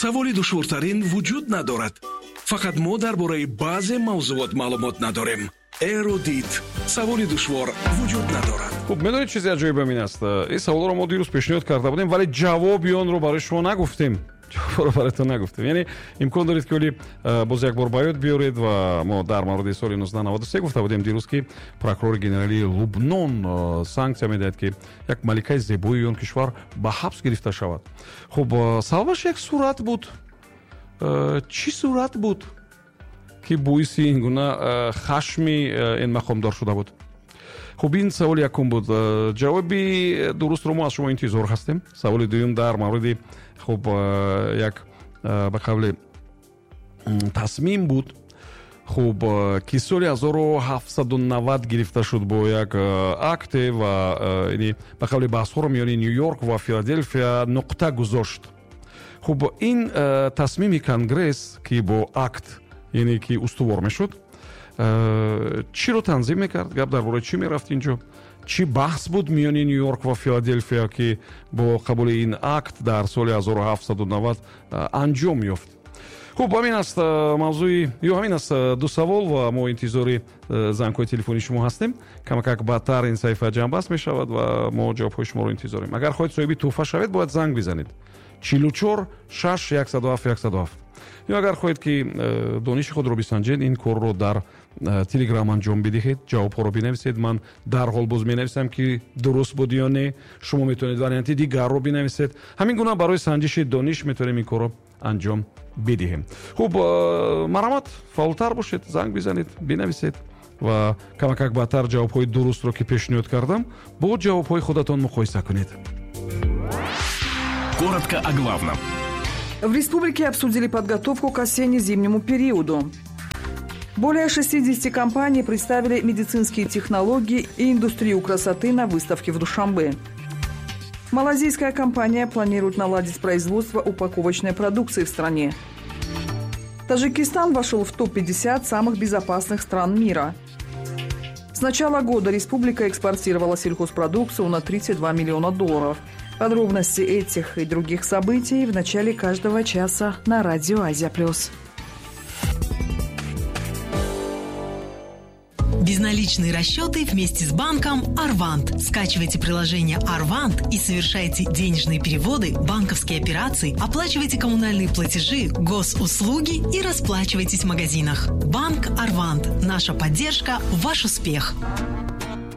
Саволи душвортарин вуҷуд надорад. Фақат мо дар бораи баъзе мавзуот маълумот надорем. Эрудит. Саволи душвор вуҷуд надорад. Хуб, медонед, чизе аҷоибам ин аст: ин саволро мо дирӯз пешниҳод карда будем, вале ҷавоби онро барои шумо нагуфтем, ҷавобро бароятон нагуфтем. Яъне имкон доред, ки оли боз як бор ба ёд биёред. Ва мо дар мавриди соли 1993 гуфта будем дирӯз, ки прокурори генералии Лубнон санксия медиҳад, ки як маликаи зебои он кишвар ба ҳабс гирифта шавад. Хуб, сабабаш як сурат буд. Чӣ сурат буд, ки боиси ин гуна хашми ин мақомдор шуда буд? Хуб, ин саволи якум буд, ҷавоби дурустро мо аз шумо интизор ҳастем. Саволи дуюм дар мавриди, хуб, як ба қавле тасмим буд, хуб, ки соли 1790 гирифта шуд бо як акте ва яъне ба қавли баҳсҳоро миёни Ню Йорк ва Филаделфия нуқта гузошт. Хуб, ин тасмими Конгресс, ки бо акт, яъне ки устувор мешуд, чиро танзим мекард? Гап дар бораи чӣ мерафт инҷо? Чӣ баҳс буд миёни Ню Йорк ва Филаделфия, ки бо қабули ин акт дар соли 1790 анҷом ёфт? Хуб, ҳамин аст мавзӯи ё ҳамин аст ду савол ва мо интизори зангҳои телефонии шумо ҳастем. Камакак баъдтар ин саҳифа ҷамъбаст мешавад ва мо ҷавобҳои шуморо интизорем. Агар хоҳед соҳиби тӯҳфа шавед, бояд занг бизанед: 44 6 107 107. Ё агар хоҳед, ки дониши худро бисанҷед, ин корро дар Телеграм анҷом бидиҳед, ҷавобҳоро бинависед. Ман дарҳол боз менависам, ки дуруст буд ё не. Шумо метавонед варианти дигарро бинависед. Ҳамин гуна барои санҷиши дониш метавонем ин корро анҷом бидиҳем. Хуб, марҳамат, фаъолтар бошед, занг бизанед, бинависед ва камакак баъдтар ҷавобҳои дурустро, ки пешниҳод кардам, бо ҷавобҳои худатон муқоиса кунед. Коротко о главном. В республике обсудили подготовку к осенне-зимнему периоду. Более 60 компаний представили медицинские технологии и индустрию красоты на выставке в Душанбе. Малазийская компания планирует наладить производство упаковочной продукции в стране. Таджикистан вошел в топ-50 самых безопасных стран мира. С начала года республика экспортировала сельхозпродукцию на 32 миллиона долларов. Подробности этих и других событий в начале каждого часа на радио «Азия плюс». Безналичные расчеты вместе с банком «Арвант». Скачивайте приложение «Арвант» и совершайте денежные переводы, банковские операции, оплачивайте коммунальные платежи, госуслуги и расплачивайтесь в магазинах. Банк «Арвант». Наша поддержка – ваш успех.